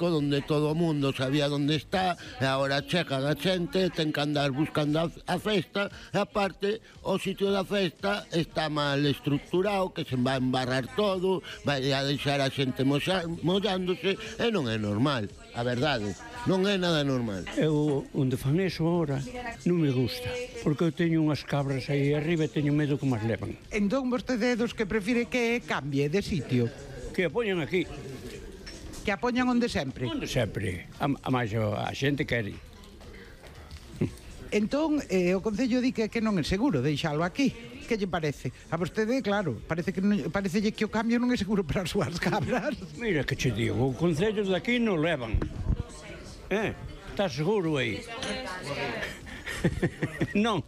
público donde todo o mundo sabía onde está, e agora chegan a xente, ten que andar buscando a festa, e aparte o sitio da festa está mal estructurado, que se va a embarrar todo, vai a deixar a xente mollándose, e non é normal, a verdade, non é nada normal. Eu, onde fan eso ahora, non me gusta, porque eu teño unhas cabras aí arriba e teño medo que mas levan. Entón vostede é dos que prefire que cambie de sitio? Que a poñan aquí. Que a poñan onde sempre? Onde sempre. A máis a xente quere. Entón, o Concello di que non é seguro deixalo aquí. Que lle parece? A vostede, claro, parecelle que o cambio non é seguro para as súas cabras. Mira que che digo, o Concello de aquí non levan. Está seguro aí? Non.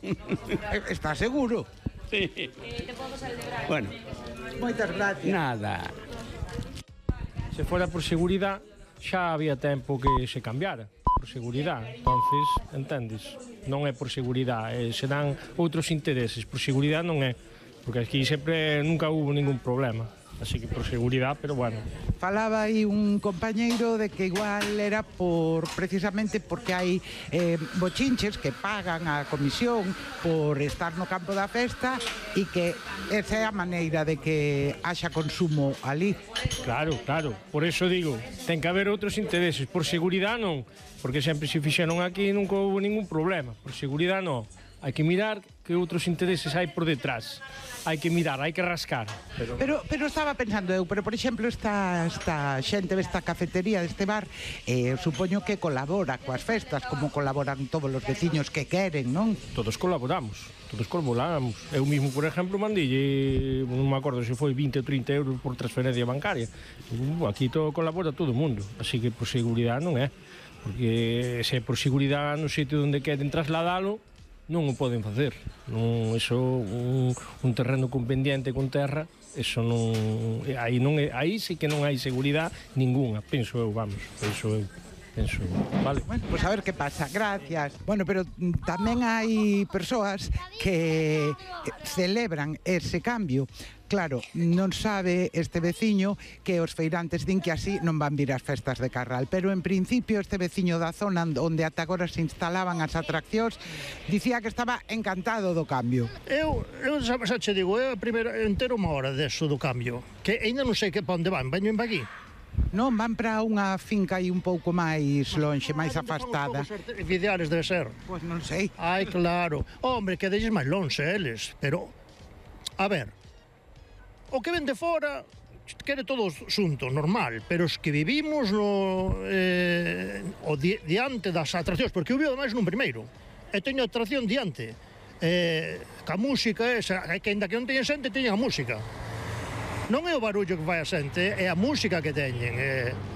Está seguro? Sí. Bueno. Moitas gracias. Nada. Se fora por seguridade, xa había tempo que se cambiara. Por seguridade, entonces, entendes? Non é por seguridade, serán outros intereses. Por seguridade non é, porque aquí sempre nunca hubo ningún problema. Así que por seguridade, pero bueno. Falaba aí un compañeiro de que igual era precisamente porque hai bochinches que pagan a comisión por estar no campo da festa e que esa é a maneira de que haxa consumo ali. Claro, por eso digo, ten que haber outros intereses. Por seguridade non, porque sempre se fixeron aquí nunca houve ningún problema. Por seguridade non. Hai que mirar que outros intereses hai por detrás. Hai que mirar, hai que rascar. Pero estaba pensando eu, por exemplo, esta xente desta cafetería, deste bar, supoño que colabora coas festas, como colaboran todos os veciños que queren, non? Todos colaboramos. Eu mismo, por exemplo, mandille, non me acordo se foi 20 ou 30 euros por transferencia bancaria. Aquí todo colabora todo o mundo, así que por seguridade non é. Porque se é por seguridade no sitio onde queren trasladalo, non o poden facer. Non, eso, un terreno con pendiente con terra, eso non, aí sí que non hai seguridade ninguna, penso eu, vale. Bueno, pues a ver que pasa, gracias. Bueno, pero tamén hai persoas que celebran ese cambio. Claro, non sabe este veciño que os feirantes din que así non van vir as festas de Carral, pero en principio este veciño da zona onde ata agora se instalaban as atraccións dicía que estaba encantado do cambio. Eu xa che digo, eu primeiro entero unha hora deso do cambio, que ainda non sei que pa onde van aquí. Non, van para unha finca aí un pouco máis lonxe, máis afastada. Os artificiales debe ser. Pois non sei. Ai, claro. Hombre, que deixes máis lonxe eles, pero a ver, o que ven de fora quere todo xunto, normal, pero os que vivimos diante das atraccións, porque eu vivo ademais nun primeiro, e teño atracción diante, ca música esa, que ainda que non teñen xente, teñen a música. Non é o barullo que vai a xente, é a música que teñen,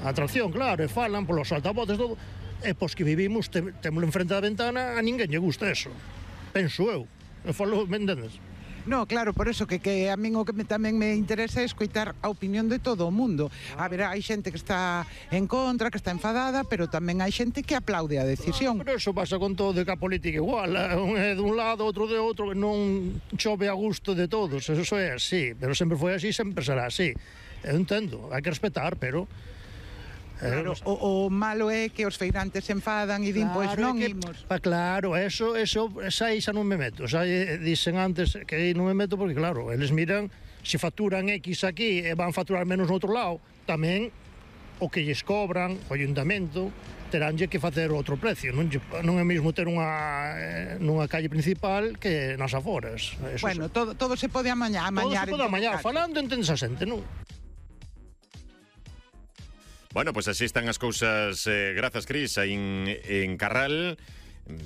a atracción, claro, e falan polos altavoces, todo, e pos que vivimos, témolo enfrente da ventana, a ninguén lle gusta eso, penso eu falo, me entendes? No, claro, por eso que a min o que tamén me interesa é escoitar a opinión de todo o mundo. A ver, hai xente que está en contra, que está enfadada, pero tamén hai xente que aplaude a decisión. Pero eso pasa con todo, que a política igual, un é dun lado, outro de outro, non chove a gusto de todos, eso é así, pero sempre foi así, sempre será así. Eu entendo, hai que respetar, pero... Claro, o malo é que os feirantes se enfadan e din, pois non imos. Claro, eso xa non me meto. Xa dicen antes que non me meto porque, claro, eles miran, se facturan X aquí e van facturar menos no outro lado, tamén o que lles cobran o ayuntamento teránlle que facer outro precio. Non é mesmo ter nunha calle principal que nas aforas. Bueno, todo se pode amañar. Todo se pode amañar, falando entendes a xente, non? Bueno, pues así están as cousas, grazas, Cris, aí en Carral.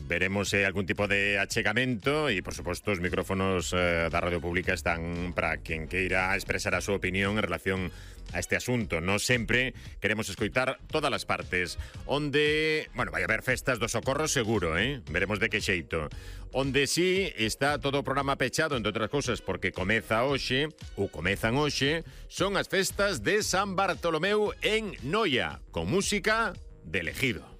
Veremos algún tipo de achegamento e, por suposto, os micrófonos da Radio Pública están para quen queira expresar a súa opinión en relación a este asunto. Non sempre queremos escoitar todas as partes. Onde, bueno, vai haber festas do Socorro seguro, veremos de que xeito. Onde sí está todo o programa pechado, entre outras cousas, porque comezan hoxe, son as festas de San Bartolomeu en Noia, con música de Elegido.